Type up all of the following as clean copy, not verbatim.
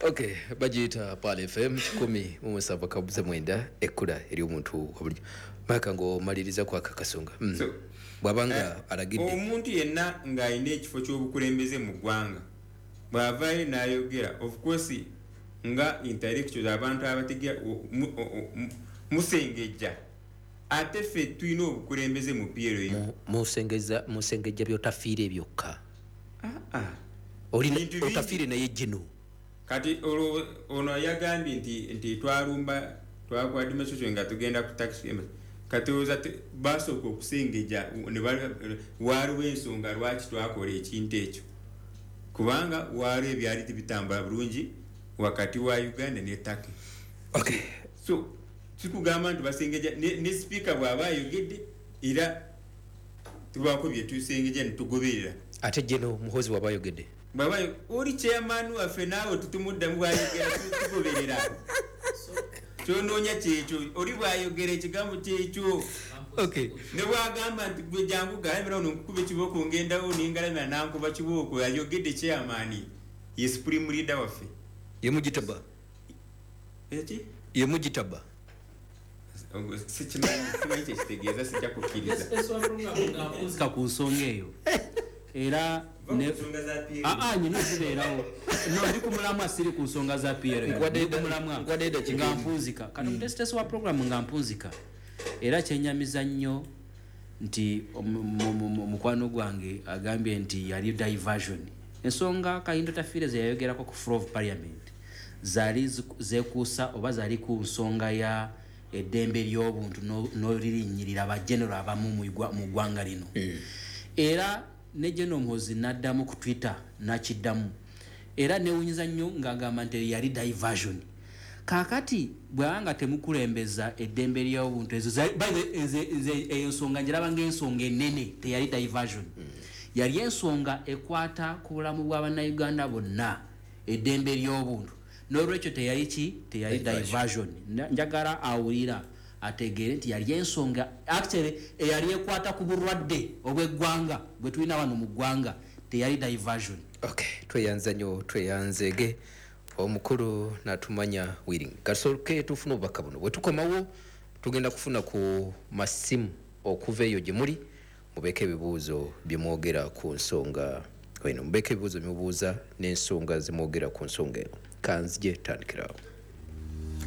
Okay, bagiyita Pearl FM 107.9, ekkula ery'omuntu wabulijjo. Maka ng'omaliriza kwaka kasonga. So, Bw'abanga alagidde omuntu yenna ng'alina ekifo ky'obukulembeze mu ggwanga, bw'avaayo n'ayogera, of course nga intellectuals, abantu abategera, musengejja. Ate ffe tulina obukulembeze mu PLU. Musengejja byotafiire byokka. Ah. Olina Bintu bingi. Otafiire naye gino. Kati olwo ono yagambye nti twalumba, twakola demonstration nga tugenda ku taxi embassy. Kati olowooza basooka okusengejja ne waaliwo ensonga lwaki twakola ekintu ekyo, kubanga waaliwo ebyali tebitambula bulungi wakati wa Uganda ne Turkey. So kikugamba nti basengejja ne sipiika bw'aba ayogedde, era tubaako bye tusengejja ne tugoberera. Ate geno Muhozi waba ayogedde? Bw'aba oli chairman waffe, naawe tutumuddamu. Bwayogera tugoberera. Kyonoonya kyekyo, oli bwayogera ekigambo kyekyo. Ne bwagamba nti gwe jangu galamira ono nkukuba ekibooko, ngendawo nengalamira nankuba kibooko. Ayogedde chairman, ye supreme leader waffe. Yemugitaba. Eki? Yemugitaba. Sikimanyi, simanyi kyekitegeeza, sijja kukkiriza. Nga ku nsonga eyo era Va ku nsonga za PLU. Aa, nyina zibeerawo. No, ndi ku mulamwa, siri ku nsonga za PLU. Ndi ku mulamwa. Nkwadde eddakiika Nga emu. mpunzika kati omutesitesi wa program, nga mpunzika, era kyenyamiza nnyo nti mukwano gwange agambye nti yali diversion. Ensonga Kahinda Otafiire ze yayogerako ku floor of parliament zaali zeekuusa oba zaali ku nsonga ya eddembe ly'obuntu n'olirinnyirira bagenero abamu mu ggwanga lino. Era ne General Muhoozi n'addamu ku Twitter n'akiddamu, era newunyiza nnyo ng'agamba nti yali diversion. Kaakati bw'aba nga temukulembeza eddembe ly'obuntu, ezo by the way, nze eyo nsonga ngiraba ng'ensonga ennene, teyali diversion. Yali ensonga ekwata ku bulamu bw'abannayuganda bonna, eddembe ly'obuntu. N'olwekyo teyali ki? Teyali Diversion. diversion. Njagala awulira ategeere nti yali ensonga actually eyali ekwata ku bulwadde obw'eggwanga bwe tulina wano mu ggwanga, teyali diversion. Okay, tweyanza nnyo, tweyanzeege omukulu natumanya wiring. Kasooke tufune obubaka buno, bwe tukomawo tugenda kufuna ku masimu okuva eyo gye muli, mubeeko ebibuuzo bye mwogera ku nsonga eno, mubeeko ebibuuzo bye mubuuza n'ensonga ze mwogera ku nsonga eno. Kanzije tandikirawo.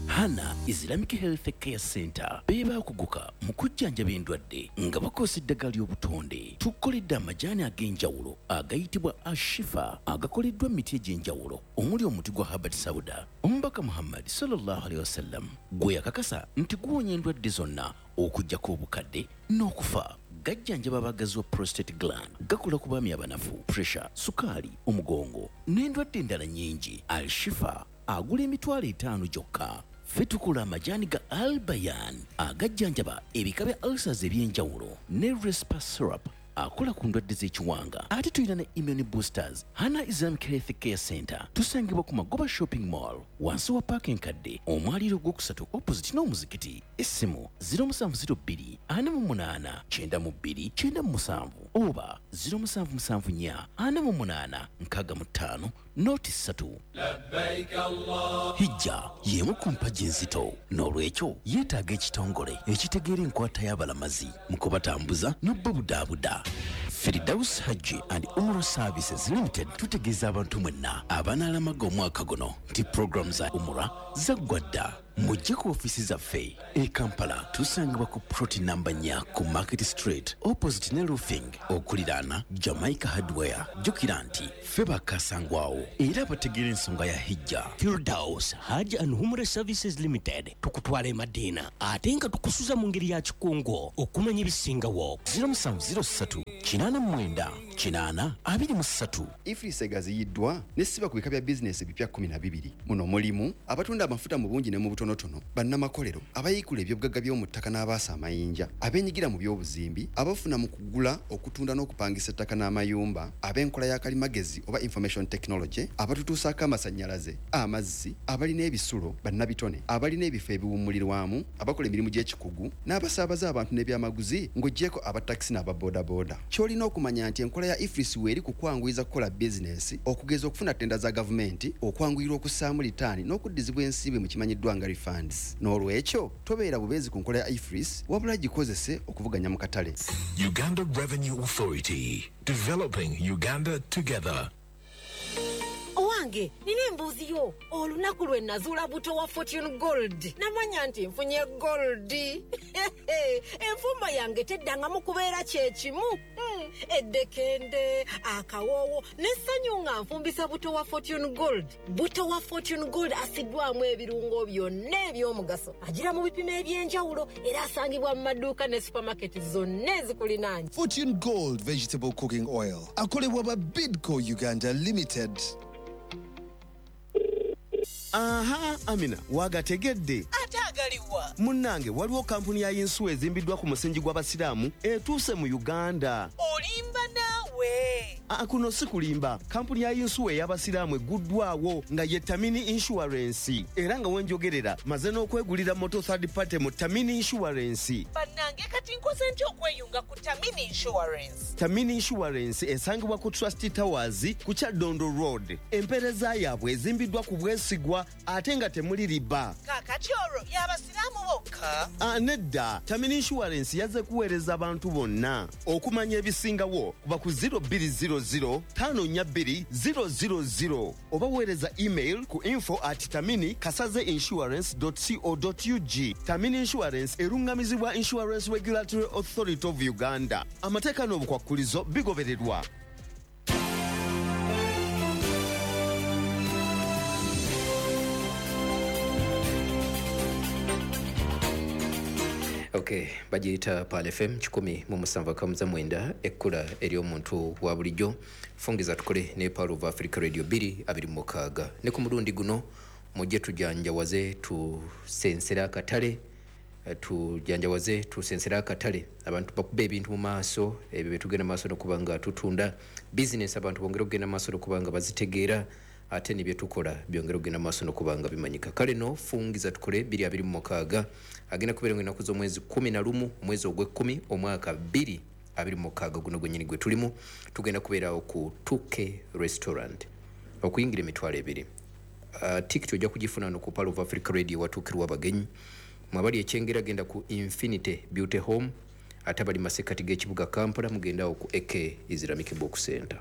Hana Islamic Health Care Center be baakuguka mu kujjanjaba endwadde nga bakozesa eddagala ly'obutonde. Tukoledde amajaani ag'enjawulo agayitibwa Ashifa, agakoleddwa mu miti egy'enjawulo omuli omuti gwa Habbat Sauda, omubaka Muhammad sallallahu alaihi wasallam gwe yakakasa nti guwonya endwadde zonna okuggyako obukadde n'okufa. Gajjanjaba abagazi wa prostate gland, gakola ku baami abanafu, pressure, sukaali, omugongo n'endwadde endala nnyingi. Al-Shifa agula 500,000 gyokka. Ffe tukola amajaani ga Albayan agajjanjaba ebika bya ulcers ebyenjawulo ne Respa syrup akola ku ndwadde z'ekiwanga. Ate tulina ne immune boosters. Hana Islamic Health Care Center tusangibwa ku Magoba Shopping Mall, wansi wa paaka enkadde, omwaliiro ogwokusatu, opposite n'omuzikiti. Essimu 0702 48 92 97 oba 0774 48 65 03. Hijja y'emu ku mpagi enzito, n'olwekyo yeetaaga ekitongole ekitegeera enkwata y'abalamazi mu kubatambuza n'obbabudaabuda. Firdaus Hajji and Umrah Services Limited tutegeeza abantu mwenna abanaalamaga omwaka guno nti puroguramu za Umrah zaggwa dda. Mujje ku ofiisi zaffe e Kampala, tusangibwa ku plot namba 4 ku Market Street, opposite ne Roofing, okuliraana Jamaica Hardware. Jjukira nti ffe bakasangwawo era abategeera ensonga ya Hijja. Firdaus Hajj and Umrah Services Limited tukutwala e Madina ate nga tukusuza mu ngeri ya kikungo. Okumanya ebisingawo, 0703 89 80 23. EFRIS egaziyiddwa nesiba ku bika bya bizinesi ebipya 12. Muno mulimu abatunda amafuta mu bungi ne mu butonotono, bannamakolero, abayiikula ebyobugagga by'omu ttaka n'abaasa amayinja, abeenyigira mu by'obuzimbi, abafuna mu kugula, okutunda n'okupangisa ettaka n'amayumba, ab'enkola ya kalimagezi oba information technology, abatutuusaako amasannyalaze, amazzi, abalina ebisulo, bannabitone, abalina ebifo ebiwummulirwamu, abakola emirimu gy'ekikugu n'abasaabaza abantu n'ebyamaguzi, ng'oggyeko abatakisi n'ababoodabooda. Ky'olina okumanya nti enkola ya Enkola ya EFRIS weeri kukwanguyiza kukola bizinensi, okugeza okufuna tenda za gavumenti, okwanguyirwa okussaamu litaani n'okuddizibwa ensimbi mu kimanyiddwa nga refunds. N'olwekyo tobeera bubeezi ku nkola ya EFRIS, wabula gikozese okuvuganya mu katale. Uganda Revenue Authority, developing Uganda together. Owange, nina embuuzi yo. Olunaku lwe nazuula buto wa Fortune Gold, namanya nti nfunye gold. Enfumba yange teddangamu kubeera kyekimu. Eddekende, akawoowo n'essanyu nga nfumbisa buto wa Fortune Gold. Buto wa Fortune Gold asiddwamu ebirungo byonna eby'omugaso, agira mu bipimo eby'enjawulo, era asangibwa mu maduuka ne supamaketi zonna ezikulinaanye. Fortune Gold Vegetable Cooking Oil akolebwa ba Bidco Uganda Limited. Aha, Amina, wagategedde. Ate agaliwa? Munnange, waliwo kampuni ya yinsuwa ezimbiddwa ku musingi gw'abasiraamu etuuse mu Uganda. Olimba naawe. Aa, kuno si kulimba. Kampuni ya yinsuwa ey'abasiraamu egguddwawo nga ye Tamini Insurance, era nga wenjogerera maze n'okwegulira moto third party mu Tamini Insurance. Bannange, kati nkoze ntya okweyunga ku Tamini Insurance? Tamini Insurance esangibwa ku Trust Towers ku Kyaddondo Road. Empeereza yaabwe ezimbiddwa ku bwesigwa ate nga temuli riba. Kaakati olwo y'abasiraamu bokka? Ah, nedda. Tamini Insurance yazze kuweereza abantu bonna. Okumanya ebisingawo kuba ku 0200 542 000 oba weereza email ku info@taminikasaze insurance co ug. Tamini Insurance erungamizibwa Insurance Regulatory Authority of Uganda. Amateeka n'obukwakkulizo bigobererwa. Okay, bagiyita Pearl FM 107.9, ekkula ery'omuntu wa bulijjo. Fungiza tukole ne Pearl of Africa Radio 226. Ne ku mulundi guno mujje tujanjawaze tusensera akatale, tujanjawaze tusensera akatale. Abantu bakuba ebintu mu maaso ebyo byetugenda maaso n'okuba nga tutunda bizinesi, abantu bongere okugenda maaso n'okuba nga bazitegeera, ate ne byetukola byongere okugenda maaso n'okuba nga bimanyika. Kale no fungiza tukole 226 agenda kubeera ennaku z'omwezi 11 omwezi ogw'ekkumi omwaka 2026 guno gwennyini gwe tulimu. Tugenda kubeerawo ku 2K Restaurant, okuyingira 20,000. Tikiti ojja kugifuna no ku Pearl of Africa Radio watuukirwa abagenyi. Mwabali ekyengera genda ku Infinity Beauty Home, ate abali masekkati g'ekibuga Kampala mugendawo ku AK Islamic Book Center.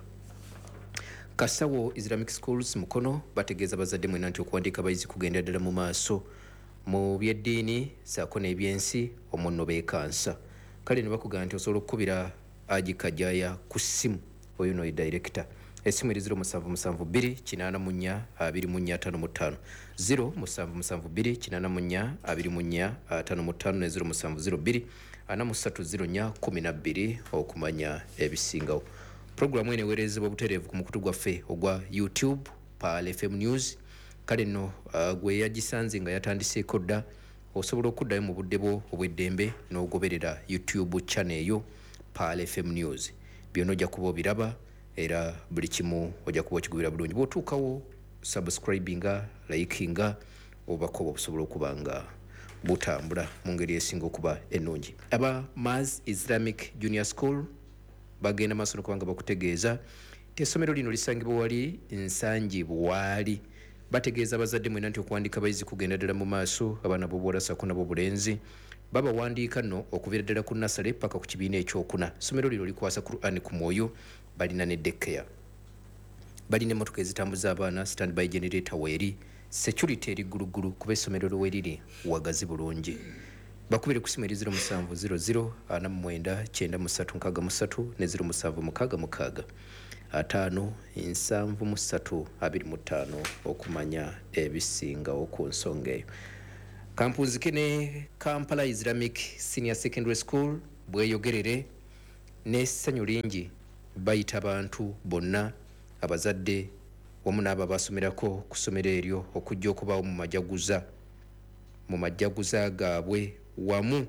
Kasawo Islamic Schools Mukono bategeeza bazadde mwena nti okuwandiika abayizi kugenda ddala mu maaso mu byeddiini ssaako n'ebyensi omwo nno beekansa. Kale ne bakugamba nti osobola okukubira Haji Kajaya ku ssimu, oyo no ye director. Essimu eri 0772 84 2455, 0772 84 2455 ne 0702 43 04 12 okumanya ebisingawo. Programu eno eweerezebwa butereevu ku mukutu gwaffe ogwa YouTube Pearl FM News. Kale nno gwe yagisanze nga yatandiseeko dda, osobola okuddayo mu budde bwo obw'eddembe n'ogoberera YouTube channel eyo Pearl FM News. Byonna ojja kuba obiraba era buli kimu ojja kuba okigubira bulungi. Bw'otuukawo subscribinga, likinga, obubaka obwo busobola okuba nga butambula mu ngeri esinga okuba ennungi. Aba Mars Islamic Junior School bagenda maaso n'okuba nga bakutegeeza nti essomero lino lisangibwa wali Nsangi Buwaali. Bategeeza abazadde mwena nti okuwandiika abayizi kugenda ddala mu maaso, abaana b'obuwala ssaako n'ab'obulenzi. Babawandiika nno okuviira ddala ku nasale paka ku kibiina ekyokuna. Essomero lino likwasa Qur'an ku mwoyo, balina ne daycare, balina emmotoka ezitambuza abaana, standby generator weeri, security eri gguluggulu kuba essomero lwe riri wagazi bulungi. Bakubire ku ssimu eri 0700 49 9363 ne 0766 5 73 25 okumanya ebisingawo ku nsonga eyo. Kampunzike ne Kampala Islamic Senior Secondary School bweyogerere n'essanyu lingi bayita abantu bonna, abazadde wamu n'abo abasomerako ku ssomero eryo okujja okubaawo mu majaguza gaabwe wamu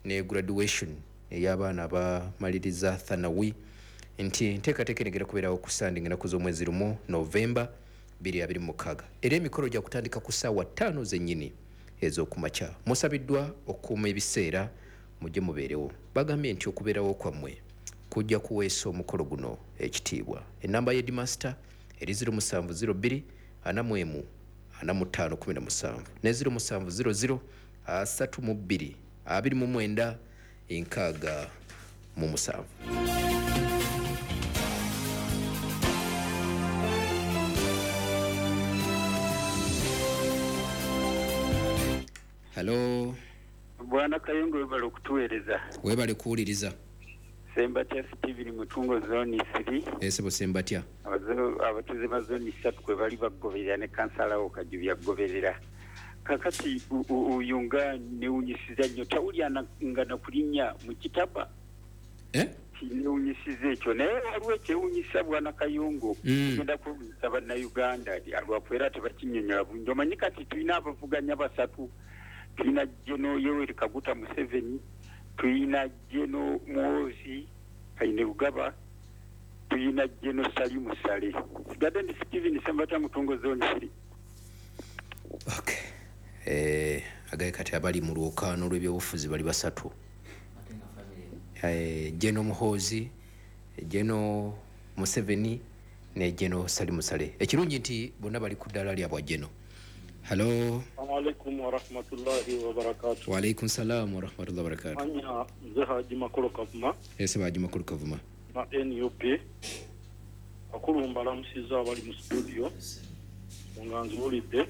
ne graduation ey'abaana abamaliriza Thanawi, nti enteekateeka eno egenda kubeerawo ku Sande ng'ennaku z'omwezi 1 Novemba 2026, era emikolo gya kutandika ku ssaawa 5 zennyini ez'okumakya. Musabiddwa okukuuma ebiseera mujje mubeerewo. Bagambye nti okubeerawo kwammwe Kujja kuweesa omukolo guno ekitiibwa. Enamba ye Headmaster eri 0702 41 45 17 ne 0700 32 29 67. Hello. Bwana Kayungu, webale okutuweereza. Webale kuwuliriza. Sembatya Steven Mutungo zone 3. Esebo Sembatya. Abatuuze ba zone 3 kwe bali bagoberera ne kansala wo Kajubi agoberera. Kakati oyo nga newunyisiza nnyo tawulya nga nakulinnya mu kitaba. Kinewunyisiza ekyo naye waliwo ekyewunyisa Bwana Kayungu. Tugenda kuwunyisa Bannayuganda lwakubeera tebakinnyonnyola bulungi. Omanyi kati tulina abavuganya basatu. Tulina General Yoweri Kaguta Museveni, tulina General Muhoozi Kainerugaba, tulina General Salim Saleh. Sigadde ndi Steven Sembatya Mutungo zone 3. Okay. Agaye kati abali mu lwokaano lw'ebyobufuzi bali basatu. General Muhoozi, General Museveni ne General Salim Saleh. Ekirungi nti bonna bali ku ddaala lya bwa General. Hello. Assalamu wa rahmatullahi wa barakatuh. Wa alaikum salam wa rahmatullahi wa barakatuh. Anya nze Haji Makolo Kavuma. Ese Haji Makolo Kavuma. Na NUP. Akulu mbalamusiza abali mu studio. Nga nzulidde.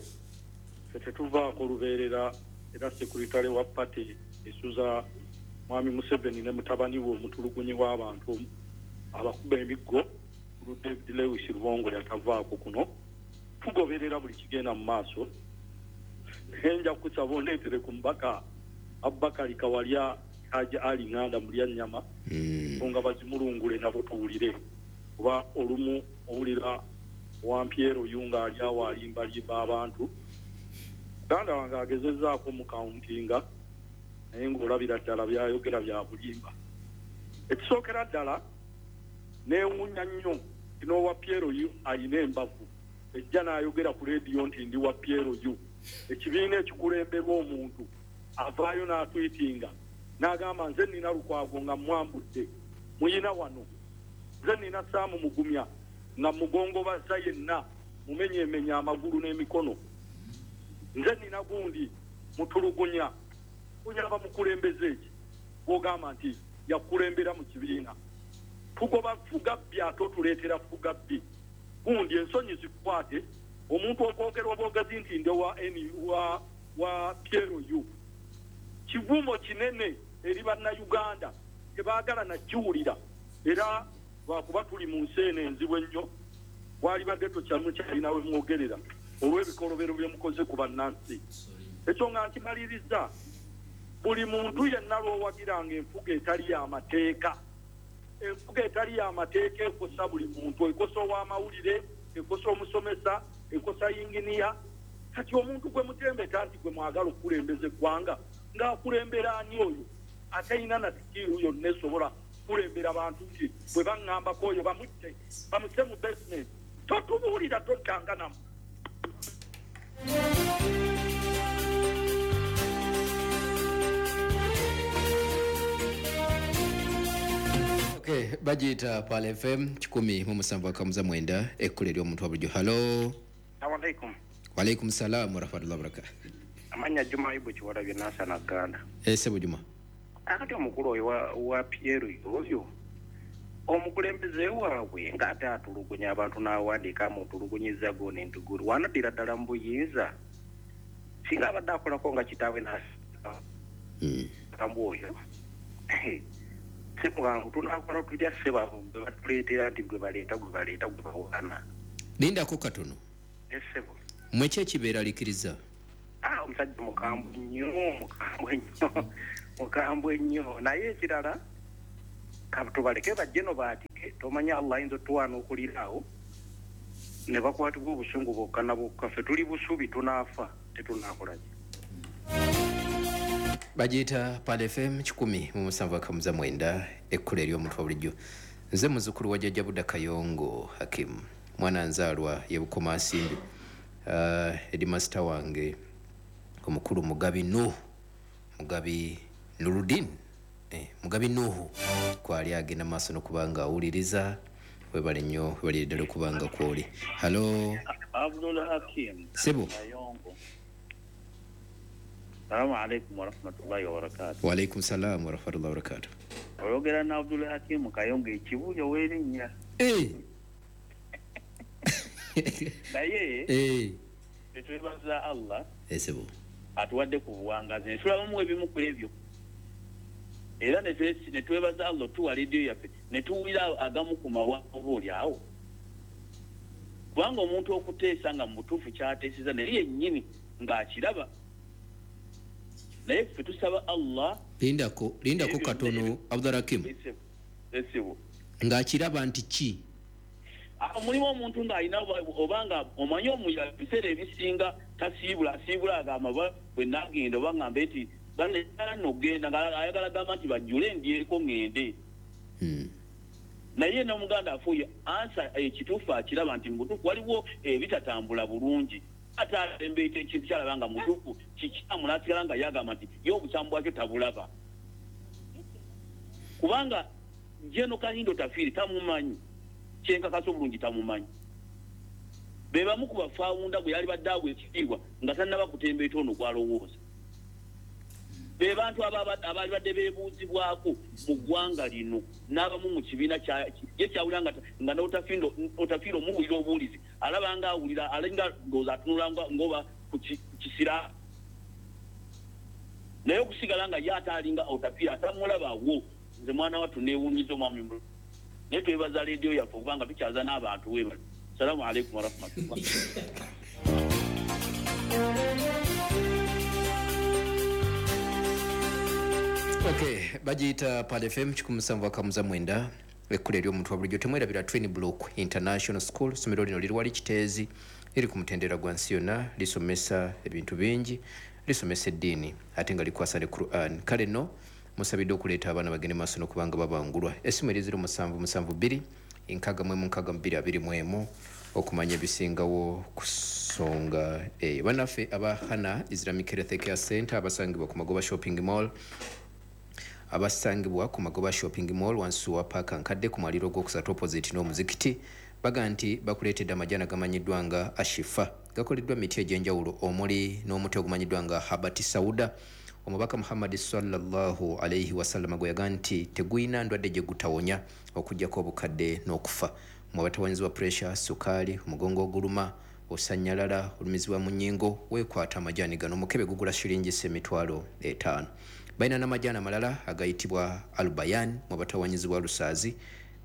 Ffe tuvaako lubeerera era sekuritale wa party esuza Mwami Museveni ne mutabani we omutulugunyi w'abantu abakuba emiggo David Lewis Rubongo yatavaako kuno. Tugoberera buli kigenda mu maaso. Nja kusaba ondeetere ku mubaka Abubakari Kawalya Haji Ali Nganda Mulyannyama nga bazimulungule nabo tuwulire, kuba olumu owulira Wampiero Yunga ali awo alimbalimba abantu. Muganda wange agezezzaako mu kauntinga naye ng'olabira ddala byayogera bya bulimba. Ekisookera ddala neewuunya nnyo n'owa Piero Yu ayina embavu ejja n'ayogera ku leediyo nti ndi wa Piero Yu. Ekibiina ekikulemberwa omuntu avaayo n'atwitinga n'agamba nze nina Lukwago nga mwambudde muyina wano, nze nina Saamu Mugumya nga mugongobaza yenna mumenyeemenya amagulu n'emikono, nze nina gundi mutulugunya. Kunyaba mukulembeze eki gw'ogamba nti yakulembera mu kibiina. Tugoba fugabbi ate otuleetera fugabbi. Gundi ensonyi zikukwate omuntu okwogera obwogezi nti ndi wa Piero Yu. Kivumo kinene eri Bannayuganda tebaagala nakiwulira, era lwakuba tuli mu nsi eno enzibu ennyo walibadde tokyamukyalina we mwogerera olw'ebikolobero bye mukoze ku bannansi. Ekyo nga nkimaliriza, buli muntu yenna lw'owagiranga enfuga etali y'amateeka, enfuga etali y'amateeka ekosa buli muntu, ekosa ow'amawulire, ekosa omusomesa, ekosa yinginiya. Kati omuntu gwe mutembeta nti gwe mwagala okukulembeza eggwanga ng'akulembera ani oyo atalina na sikiru yonna esobola kukulembera bantu nti bwe baŋŋambako oyo bamutte bamuse mu basement. Totubuulira tottanga namu. Okay, bagiyita Pearl FM 107.9 ekkula ery'omuntu wa bulijjo. Hello. Assalamu alaikum. Wa alaikum salam wa rahmatullahi wa barakatuh. Amanya Juma Ibu Kiwalabye Nasana Ganda. Sebo Juma. Akati omukulu oyo wa Piero oyo omukulembeze waabwe ng'ate atulugunya abantu n'awandiika amutulugunyiza gona entugulu wanaddira ddala mu buyinza singa abadde akolako nga kitaawe n'akambu oyo si mwangu tunakola tutya ssebo gwe batuleetera nti gwe baleeta gwe bawaana. Lindako katono. Ssebo. Mmwe ki ekibeeralikiriza? Omusajja mukambwe nnyo naye ekirala tubaleke bajje no baatike tomanya Allah ayinza otuwaana okuliraawo ne bakwatibwa obusungu bwokka na bwokka ffe tuli busubi tunaafa tetunaakolaki. Bagiyita Pearl FM 107.9 ekkula ery'omuntu wa bulijjo. Nze muzzukulu wa Jjajja Budda Kayongo Hakimu, mwana nzaalwa ye Bukoma Nsimbi. Headmaster wange omukulu Mugabi Nuh, Mugabi Nurudin Mugabi Nuhu kwali agenda maaso n'okubanga awuliriza. Webale nnyo, webalire ddala okubanga kwoli. Halo Abdul Hakim. Sebo. Salamu alaikum warahmatullahi wabarakatuh. Wa alaikum salam warahmatullahi wabarakatuh. Oyogera na Abdul Hakim Kayongo ekibuyo werinnya. Naye tetwebaza Allah. Sebo. Atuwadde ku buwangazi. Tulabamu ebimu ku ebyo. Era ne twebaza Allah tuwa radio yaffe ne tuwulira agamu ku mawulire awo. Kubanga omuntu okuteesa nga mutuufu kyateeseza naye yennyini ng'akiraba. Naye ffe tusaba Allah. Lindako katono Abdul Hakim. Sebo. Ng'akiraba nti ki? Mulimu omuntu ng'alina obanga omanyi omuya ebiseera ebisinga tasiibula asiibula agamba bwe nagenda oba ngambe nti nogenda ayagala gamba nti bajjule ndyeko ŋŋende. Naye n'omuganda afuuye ansa ekituufu akiraba nti mutuufu waliwo ebitatambula bulungi. Ate alembeeta ekintu kyalaba nga mutuufu kikyamu n'asigala nga yagamba nti ye obukyamu bwakyo tabulaba. Kubanga Jeno Kahindo Otafiire tamumanyi, kyenkakasa obulungi tamumanyi. Be bamu ku bafaawunda bwe yali badde agwa ekitiibwa nga tannaba kutembeeta ono gw'alowooza. Be bantu abaali badde beebuuzibwako mu ggwanga lino n'abamu mu kibiina ye kyawulira nga n'Otafiire omuwulira obuwulizi alaba nga awulira alinga ndowooza atunula ng'oba ku kisira. Naye okusigala nga ye ate alinga Otafiire atamulabawo. Nze mwana wattu neewuunyiza omwami Mululu. Naye twebaza leediyo yaffe okubanga tukyaza n'abantu weebale. Salaamu alaikum warahmatullah. Okay, bagiyita Pad FM 179 ekkula ery'omuntu wa bulijjo. Temwerabira Twin Block International School. Essomero lino liri wali Kiteezi, liri ku mutendera gwa nsi yonna, lisomesa ebintu bingi, lisomesa eddiini ate nga likwasa ne Quran. Kale nno musabidde okuleeta abaana bagende maaso n'okubanga babangulwa. Essimu eri 0772 66 21 okumanya ebisingawo ku nsonga eyo. Bannaffe aba Hana Islamic Health Care Center abasangibwa ku Magoba Shopping Mall, abasangibwa ku Magoba Shopping Mall wansi wa paaka nkadde ku mwaliro ogwokusatu opposite n'omuzikiti, baga nti bakuleetedde amajaani agamanyiddwa nga Ashifa. Gakoleddwa miti egy'enjawulo omuli n'omuti ogumanyiddwa nga Habati Sauda. Omubaka Muhammad sallallahu alaihi wasallam gwe yaga nti tegulina ndwadde gye gutawonya okuggyako obukadde n'okufa. Mu abatawanyizibwa pressure, sukaali, omugongo oguluma, osannyalala, olumizibwa mu nnyingo, weekwata amajaani gano. Omukebe gugula shilingi 50,000. Balina n'amajaani amalala agayitibwa Albayan mu abatawanyizibwa lusaazi,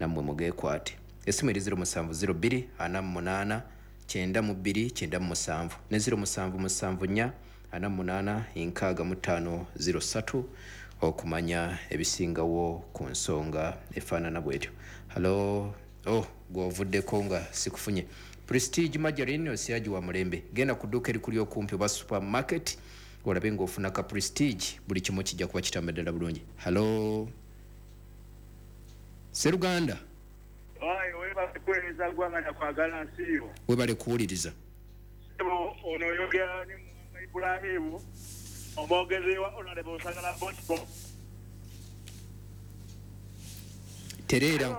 nammwe mugeekwate. Essimu eri 0702 48 92 97 ne 0774 48 65 03 okumanya ebisingawo ku nsonga efaanana bwetyo. Halo, gw'ovuddeko nga sikufunye. Prestige Margarine osiyaji wa mulembe. Genda ku dduuka erikuli okumpi oba supermarket olabe ng'ofuna ka Prestige, buli kimu kijja kuba kitambula ddala bulungi. Halo Seruganda. Webale kuweereza ggwanga na kwagala nsi yo. Webale kuwuliriza. Ono oyogera ne Ibrahimu omwogezi wa Honorable Sagala Bosco. Tereera.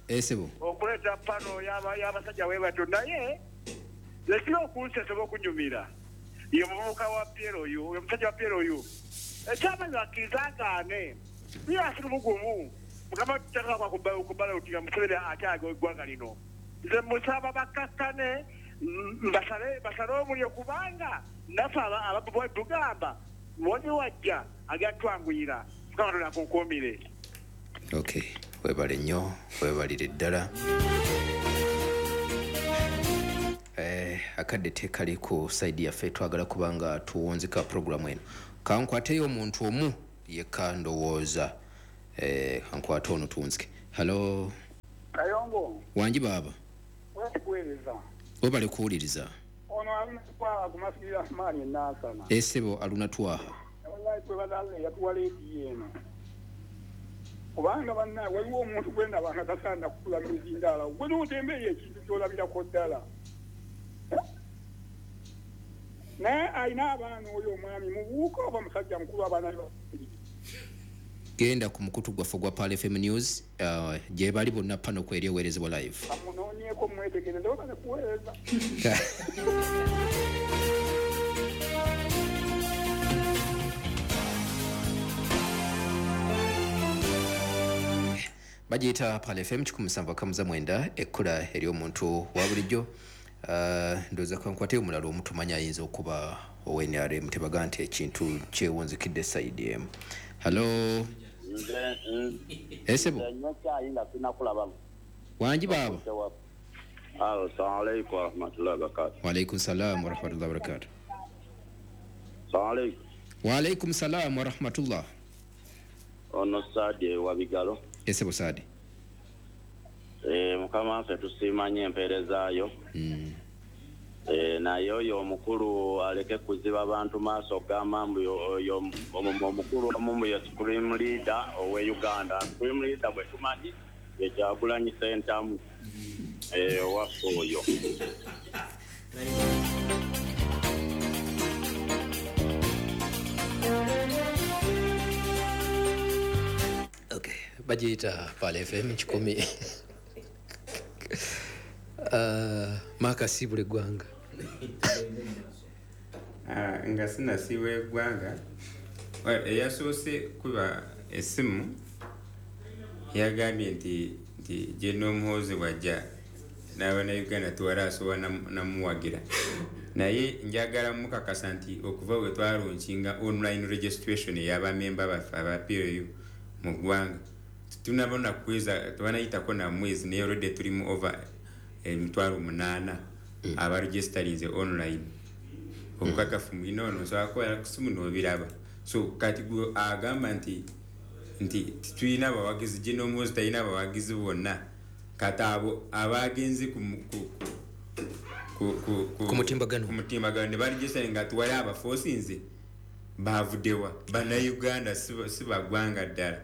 Esebo. Okuleeta pano y'abasajja we batyo naye lekira okunsesa okunyumira. Ye muvubuka wa Piero oyo, oyo musajja wa Piero oyo. Ekyamanyi akkiriza agaane. Ye asiri mugumu. Mukama tutaka kubala otiga Museveni atyaga eggwanga lino. Nze musaba bakkakkane basale omulyo kubanga naffe ababuba tugamba mwonyi wajja agenda twanguyira. Mukama Katonda akunkuumire. Okay, webale nnyo, webalire ddala. Akadde tekali ku side yaffe, twagala kubanga tuwunzika programu eno. Kankwateyo omuntu omu yekka ndowooza. Kankwate ono tuwunzike. Halo Kayongo. Wangi baba. Wekuweereza. Webale kuwuliriza. Ono Aluna Twaha ku Masjid Rahmani e Nansana. Esebo Aluna Twaha. Wallahi twebaza Allah yatuwa leediyo eno. Kubanga banna waliwo omuntu gwe ndaba nga tasaana kukula mizindaalo. Gwe n'otembeeya ekintu ky'olabirako ddala. Naye alina abaana oyo omwami mubuuka oba musajja mukulu abaana be babiri. Genda ku mukutu gwaffe ogwa Pearl FM News, gye bali bonna pano kweri eweerezebwa live. Amunoonyeeko mwetegereze oba kuweereza. Bagiyita Pearl FM 179, ekkula ery'omuntu wa bulijjo. Ndowooza kankwate omulala omutumanya ayinza okuba owa NRM, tebaga nti ekintu kyewunzikidde sayidi emu. Hello. Esebo. Wangi baba. Assalamu alaikum warahmatullahi wabarakatuh. Wa alaikum salam warahmatullahi wabarakatuh. Assalamu alaikum. Wa alaikum salam warahmatullah. Ono Sadi wa Bigalo. Esebo Sadi. Mukama waffe tusiima nnyo empeerezaayo. Naye oyo omukulu aleke kuziba bantu maaso gamba mbu oyo omukulu omu ye Supreme Leader owe Uganda. Supreme Leader bwe tumanyi ye Kyagulanyi Ssentamu owaffe oyo. Okay, bagiyita Pearl FM 100. Makasibule eggwanga. Nga sinasiibula eggwanga, eyasoose kuba essimu yagambye nti General Muhoozi bw'ajja n'Abannayuganda tewali asobola namuwagira, naye njagala mukakasa nti okuva bwe twalonkinga online registration ey'abamemba baffe aba PLU mu ggwanga tunabona kuweza tebanayitako na mwezi, naye already tuli mu over 8,000 abaregisterinze online. Obukakafu mwina ono osobola kubeera ku ssimu n'obiraba. So kati gwe agamba nti tulina abawagizi, General Muhoozi talina abawagizi bonna, kati abo abagenze ku mutimbagano ne baregisteringa nga tuwali abafoosinze bavuddewa. Bannayuganda si baggwanga ddala.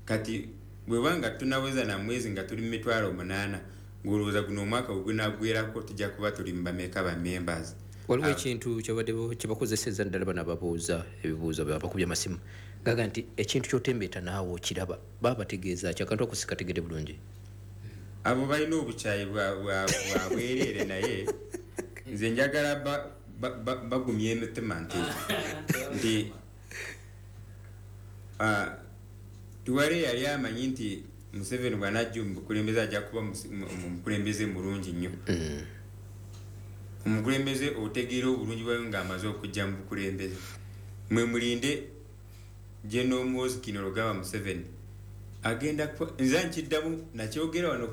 Kati bweba nga tunaweza na mwezi nga tuli mu 8,000, ng'olowooza guno omwaka bwe gunaggwerako tujja kuba tuli mu bameka ba members. Waliwo ekintu kyabadde kyebakozesezza ddala bano ababuuza ebibuuzo abakubye amasimu, gaga nti ekintu ky'otembeeta naawe okiraba, baba bategeeza ki? Akantu ako sikategedde bulungi. Abo balina obukyayi bwa bwereere, naye nze njagala bagumye emitima nti tuwale yali amanyi nti Museveni bw'anajja mu bukulembeze ajja kuba omukulembeze mulungi nnyo. Omukulembeze otegeera obulungi bwayo ng'amaze okujja mu bukulembeze. Mwe mulinde General Muhoozi Kainerugaba Museveni agenda nze nkiddamu nakyogera wano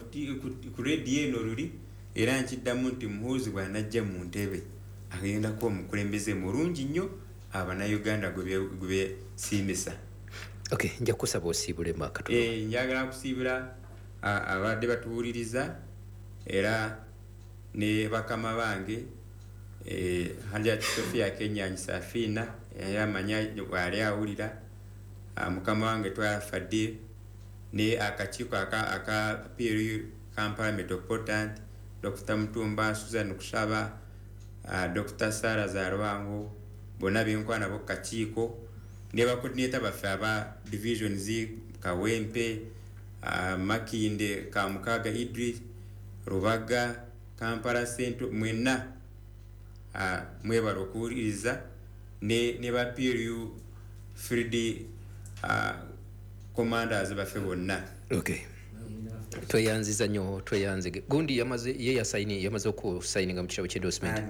ku rediyo eno luli, era nkiddamu nti Muhoozi bw'anajja mu ntebe agenda kuba omukulembeze mulungi nnyo Abannayuganda gwe besiimisa. Okay, nja kusaba osiibule makatono. Njagala kusiibula abadde batuwuliriza era ne bakama bange, Hajjati Sophia Kenyanyi Safina yamanya wali awulira, mukama wange Twala Fadil ne akakiiko aka PLU Kampala Metropolitan, Dr. Mutumba, Susan Kushaba, Dr. Sarah Zarwango, bonna benkwana bo kakiiko ne bacoordinator baffe aba divisions Kawempe, Makinde, Kamukaga Idris, Rubaga, Kampala Central, mwenna mwebale okuwuliriza ne ba PLU Field commanders baffe bonna. Okay. Tweyanziza nnyo, tweyanzige. Gundi yamaze ye yasaini, yamaze okusayininga mu kitabo ky'endorsement.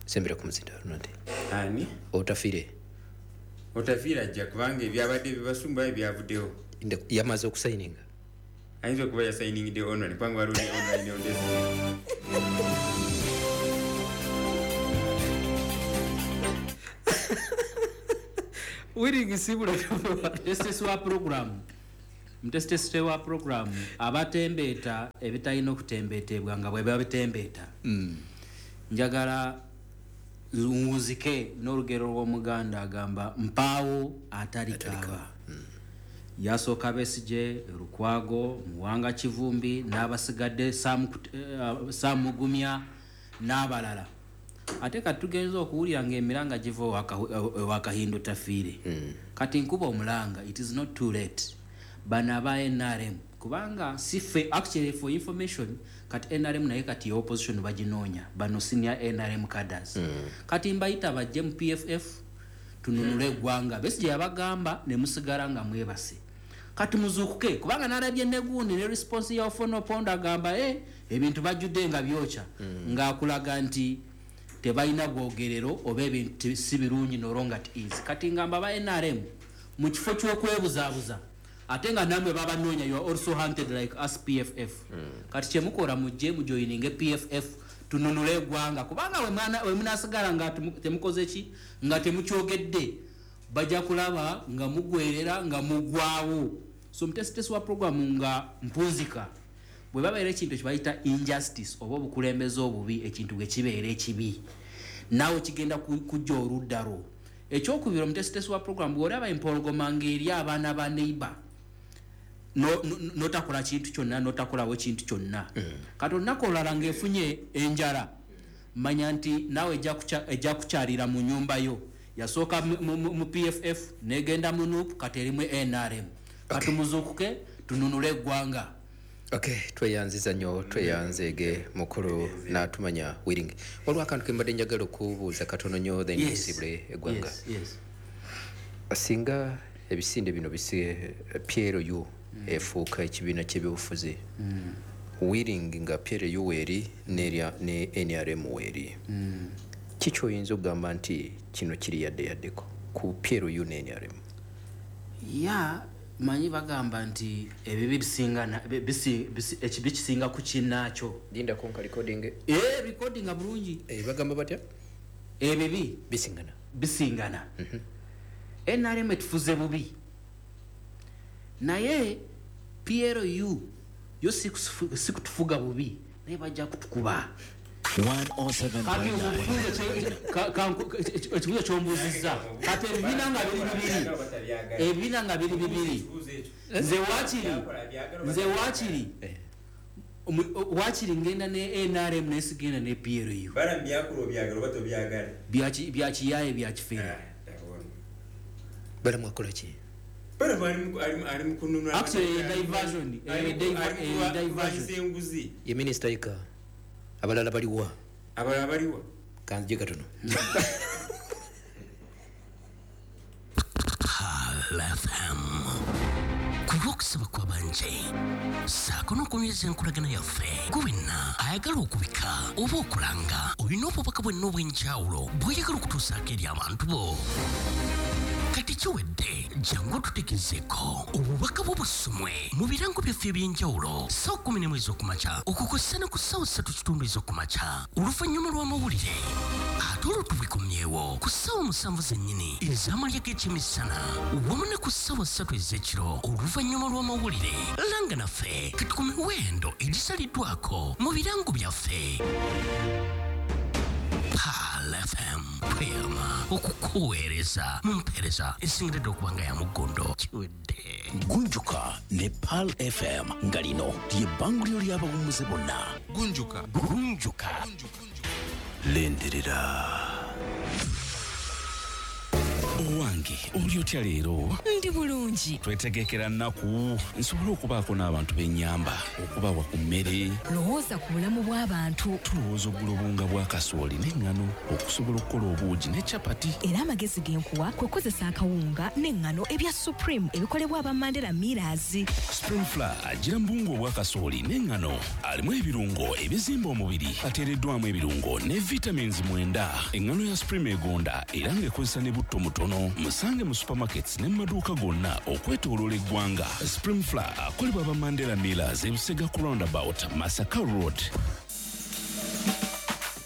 Sembera ku muzinda Ronald. Ani? Otafire. Otafire ajja kubanga ebyabadde bibasumba ebyavuddewo. Yamaze okusayininga. Ayinza okuba yasayiningidde online kubanga waliwo ne online on desk. Mutesitesi wa program, mutesitesi wa program abatembeeta ebitalina okutembeetebwa nga bwe babitembeeta. Njagala nzike n'olugero lw'Omuganda agamba mpaawo atali kaaba. Yasooka Besigye, Lukwago, Muwanga Kivumbi n'abasigadde Samugumya n'abalala. Ate kati tugenze okuwulira ng'emiranga giva ewa Kahindo Tafiire. Kati nkuba omulanga, it is not too late. Bano aba NRM, kubanga si ffe, actually for information, kati NRM naye kati ya opposition baginoonya bano senior NRM cadres. Kati mbayita bajje mu PFF tununule eggwanga. Besigye yabagamba ne musigala nga mwebase. Kati muzuukuke, kubanga nalabye negundi ne response ya Ofono Opondo agamba ebintu bajjudde nga byokya, ng'akulaga nti tebalina bwogerero oba ebintu si birungi no longer at ease. Kati ngamba ba NRM mu kifo ky'okwebuzaabuza, ate nga namwe babanoonya, you are also hunted like us PFF. Kati kyemukola, mujje mujoininge PFF tununule eggwanga, kubanga we munasigala nga temukoze ki, nga temukyogedde, bajja kulaba nga mugwerera nga mugwawo. So mutesitesi wa programu nga mpunzika, bwe babeera ekintu kyebayita injustice oba obukulembeze obubi, ekintu bwe kibeera ekibi naawe kigenda kujja oludda lwo. Ekyokubiri, omutesitesi wa programu, bw'olaba empologoma ng'eri abaana ba neighbor, notakola kintu kyonna, notakolawo kintu kyonna, kati olunaku olulala ng'efunye enjala, manya nti naawe ejja kukyalira mu nyumba yo. Yasooka mu PFF, negenda mu NUP, kati erimu NRM. Kati muzuukuke tununule eggwanga. Okay, tweyanziza nnyo, tweyanzeege mukulu n'atumanya Wiring. Waliwo akantu ke mbadde njagala okubuuza katono nnyo, then tusibule eggwanga. Singa ebisinde bino bisi PLU efuuka ekibiina ky'ebyobufuzi, Wiring nga PLU weeri ne NRM weeri, kiki oyinza okugamba nti kino kiri yadde yaddeko ku PLU ne NRM? Ya manyi bagamba nti ebibi bisingana, ekibi kisinga ku kinnaakyo. Linda konka recording. Recording bulungi. Bagamba batya? Ebibi bisingana. Bisingana. NRM etufuze bubi, naye PLU yo si kutufuga bubi, naye bajja kutukuba. 107.9. Ekibuuzo kyombuuzizza, kati ebibiina nga biri bibiri, ebibiina nga biri bibiri, nze waakiri ngenda ne NRM naye sigenda ne PLU. Byakiyaye byakifeera. Balamu akola ki? Actually diversion, diversion. Ye minisita yeka, abalala baliwa? Abalala baliwa? Kanzije katono. Pearl FM. Ku lw'okusaba kw'abanje ssaako n'okunyweza enkolagana yaffe, gwe wenna ayagala okubika oba okulanga, olina obubaka bwenna obw'enjawulo bw'oyagala okutuusaako eri abantu bo, kati kiwedde, jangu otutegezeeko obubaka bwo busomwe mu birango byaffe eby'enjawulo ssaawa 11 ez'okumakya okukosa ne ku ssaawa 3:15 ez'okumakya oluvannyuma lw'amawulire, ate olwo tubikomyewo ku ssaawa 7 zennyini ez'amalya g'ekyemisana wamu ne ku ssaawa 3 ez'ekiro oluvannyuma lw'amawulire. Langa naffe kati ku miwendo egisaliddwako mu birango byaffe. Pearl FM, tweyama okukuweereza mu mpeereza esingiridde okuba nga ya muggondo. Kiwedde. Gunjuka ne Pearl FM, nga lino lye bbanguliro ly'abawummuze bonna. Gunjuka. Gunjuka. Lindirira. Owange, oli otya leero? Ndi bulungi. Twetegekera nnaku nsobole okubaako n'abantu b'ennyamba, okubawa ku mmere. Lowooza ku bulamu bw'abantu. Tulowooza ogula obuwunga bwa kasooli n'eŋŋano okusobola okukola obuugi ne capati. Era amagezi ge nkuwa kwe kukozesa akawunga n'eŋŋano ebya Supreme ebikolebwa aba Mandela Millers. Supreme Flour agira mu buwunga obwa kasooli n'eŋŋano, alimu ebirungo ebizimba omubiri, ateereddwamu ebirungo ne vitamins 9. Eŋŋano ya Supreme egonda era ng'ekozesa ne butto mutono. Musange mu supermarkets ne mu maduuka gonna okwetooloola eggwanga. Supreme Flour akolebwa aba Mandela Millers, ebusega ku roundabout Masaka Road.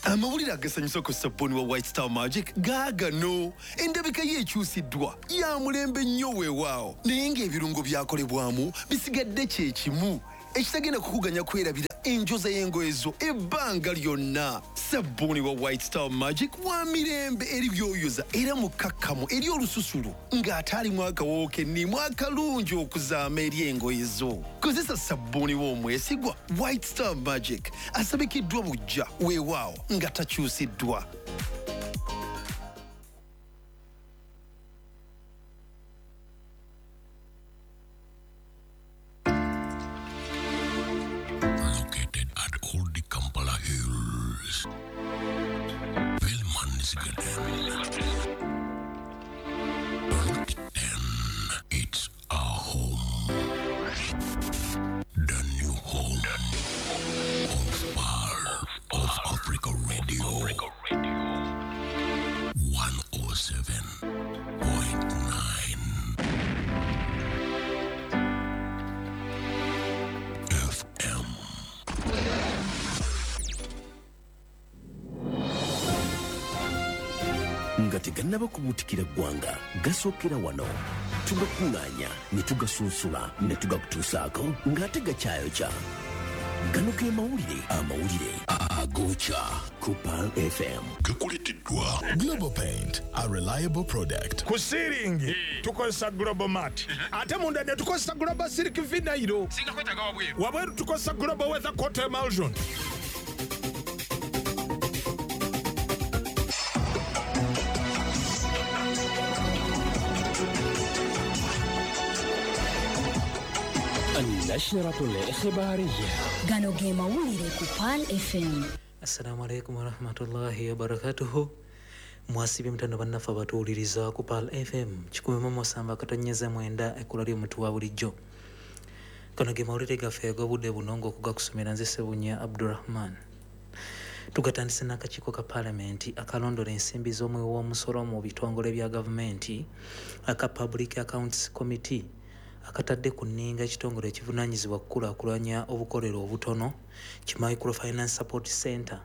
Amawulire agasanyusa ku sabbuuni wa White Star Magic gaagano. Endabika ye ekyusiddwa, ya mulembe nnyo weewaawo, naye ng'ebirungo byakolebwamu bisigadde kye kimu, ekitagenda kukuganya kwerabira enjoza y'engoye zo ebbanga lyonna. Sabbuuni wa White Star Magic wa mirembe eri byoyoza era mukkakkamu eri olususu ng'ate alimu akawoowo kennimu akalungi okuzaama eri engoye zo. Kozesa sabbuuni w'omwesigwa White Star Magic, asabikiddwa buggya weewaawo nga takyusiddwa. Michigan. It's our home. The new home of Pearl of Africa Radio. 107.9 FM. Nga tegannaba kubuutikira ggwanga, gasookera wano. Tugakuŋŋaanya ne tugasunsula ne tugakutuusaako ng'ate gakyayokya. Gano ge mawulire, amawulire agokya ku Pearl FM. Gakuleeteddwa Global Paint, a reliable product. Ku siiringi tukozesa Global Mat, ate munda ne tukozesa Global Silk Vinyl. Wabweru tukozesa Global Weather Coat Emulsion. النشرة الإخبارية. Gano ge mawulire ku Pearl FM. Assalamu alaikum warahmatullahi wabarakatuhu. Mwasibye mutano bannaffe abatuwuliriza ku Pearl FM 107.9, ekkula ly'omutu wa bulijjo. Gano ge mawulire gaffe ag'obudde buno ng'okugakusomera nze Ssebunya Abdurrahman. Tugatandise n'akakiiko ka paalamenti akalondola ensimbi z'omuwi w'omusolo mu bitongole bya gavumenti aka Public Accounts Committee akatadde ku nninga ekitongole ekivunaanyizibwa kukulaakulanya obukolero obutono ki Microfinance Support Center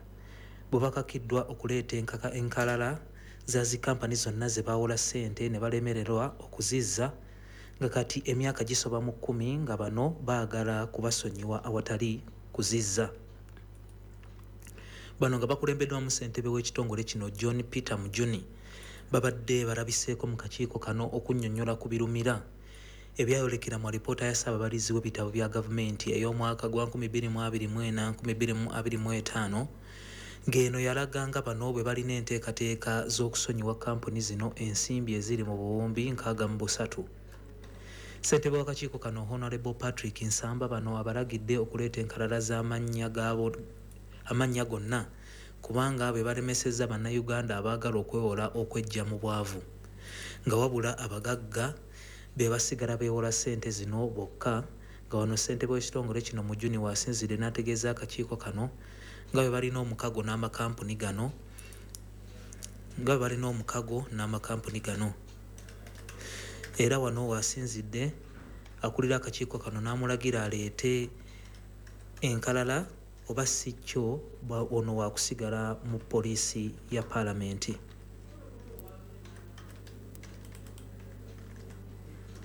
bwe bakakiddwa okuleeta enkalala za zi kampani zonna ze bawola ssente ne balemererwa okuzizza, nga kati emyaka gisoba mu 10 nga bano baagala kubasonyiwa awatali kuzizza. Bano nga bakulembeddwamu ssentebe w'ekitongole kino John Peter Mujuni babadde balabiseeko mu kakiiko kano okunnyonnyola ku birumira ebyayolekera mu alipoota ya Ssaababalizi w'ebitabo bya gavumenti ey'omwaka gwa 2024-2025, ng'eno yalaga nga bano bwe balina enteekateeka z'okusonyiwa kampuni zino ensimbi eziri mu buwumbi 63. Ssentebe w'akakiiko kano Honorable Patrick Nsamba bano abalagidde okuleeta enkalala z'amannya gonna kubanga be balemesezza Bannayuganda abaagala okwewola okweggya mu bwavu, nga wabula abagagga be basigala beewola ssente zino bokka. Nga wano ssentebe w'ekitongole kino Mujuni waasinzidde n'ategeeza akakiiko kano nga bwe balina omukago n'amakampuni gano. Era wano waasinzidde akulira akakiiko kano n'amulagira aleete enkalala oba si kyo ono waakusigala mu poliisi ya paalamenti.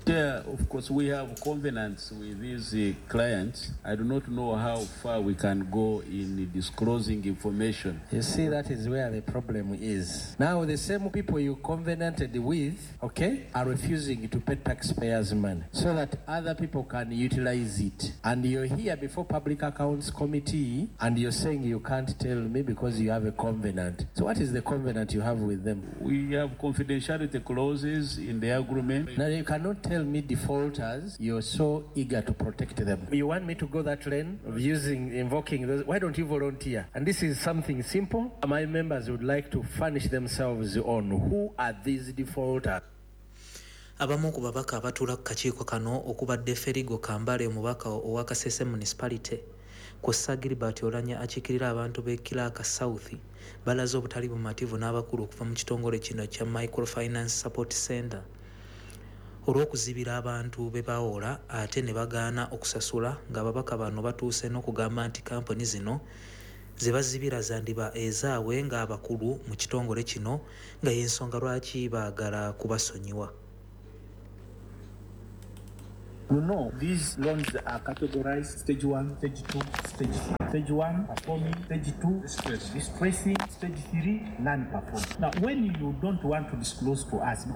There, of course, we have covenants with these clients. I do not know how far we can go in disclosing information. You see, that is where the problem is. Now, the same people you covenanted with, okay, are refusing to pay taxpayers' money so that other people can utilize it. And you're here before Public Accounts Committee and you're saying you can't tell me because you have a covenant. So what is the covenant you have with them? We have confidentiality clauses in the agreement. Now, you cannot tell me defaulters, you're so eager to protect them. You want me to go that lane of invoking those? Why don't you volunteer? And this is something simple. My members would like to furnish themselves on who are these defaulters. Abamu ku babaka abatuula ku kakiiko kano okubadde Ferigo Kambale omubaka owa Kasese Municipality kw'ossa Gilbert Olanya akiikirira abantu b'e Kiraka South balaze obutali bumativu n'abakulu okuva mu kitongole kino kya Microfinance Support Center olw'okuzibira abantu be bawola ate ne bagaana okusasula, ng'ababaka bano batuuse n'okugamba nti kampuni zino ze bazibira zandiba ezaabwe ng'abakulu mu kitongole kino, nga y'ensonga lwaki baagala kubasonyiwa. You know, these loans are categorized stage 1, stage 2, stage 3. Stage 1, performing, stage 2, distressing, stage 3, non-performing. Now, when you don't want to disclose to us,